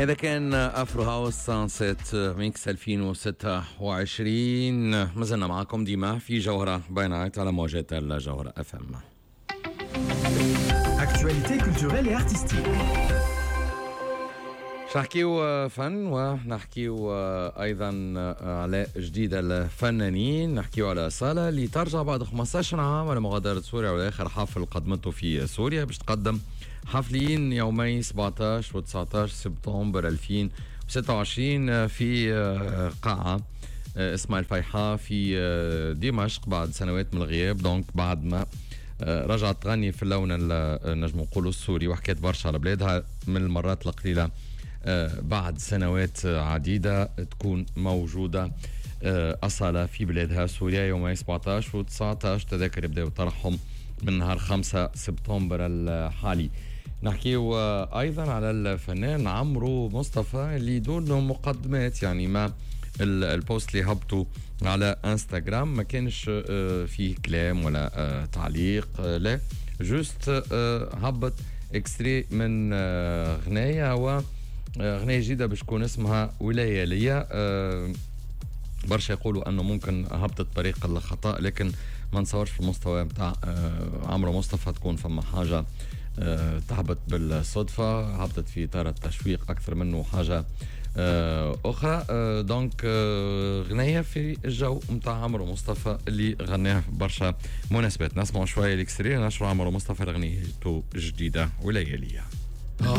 هذا كان Afro House Sunset Mix 2026. مازلنا معكم ديما في جوهرة by Night على موجات الجوهرة FM. Actualité culturelle et artistique. نحكيو فن ونحكيو ايضا على جديد الفنانين. نحكيو على أصالة اللي ترجع بعد 15 عام على مغادرة سوريا، واخر حفل قدمته في سوريا، باش تقدم حفلين يومي 17 و 19 سبتمبر 2026 في قاعة اسمها الفيحاء في دمشق بعد سنوات من الغياب. donc بعد ما رجعت تغني في اللون نجم نقولوا السوري، وحكيت برشا على بلادها، من المرات القليلة بعد سنوات عديدة تكون موجودة أصالة في بلادها سوريا يوم 17 و 19. تذاكر يبداو طرحهم من نهار 5 سبتمبر الحالي. نحكيو أيضا على الفنان عمرو مصطفى اللي دون مقدمات، يعني ما ال post اللي هبطوا على انستغرام ما كانش فيه كلام ولا تعليق، لا، juste هبط extrait من غنايه، و غنايه جديدة باش تكون اسمها ولاية ليا. برشا يقولوا انه ممكن هبطت طريق الخطا، لكن ما نتصورش في المستوى نتاع عمرو مصطفى تكون فما حاجة تهبط بالصدفه. هبطت في اطار التشويق اكثر منه حاجة اخرى. donc غنية في الجو نتاع عمرو مصطفى اللي غناها في برشا مناسبات. نسمعوا شوية ال extrait، نشروا عمرو مصطفى اغنيته الجديدة ولياليه.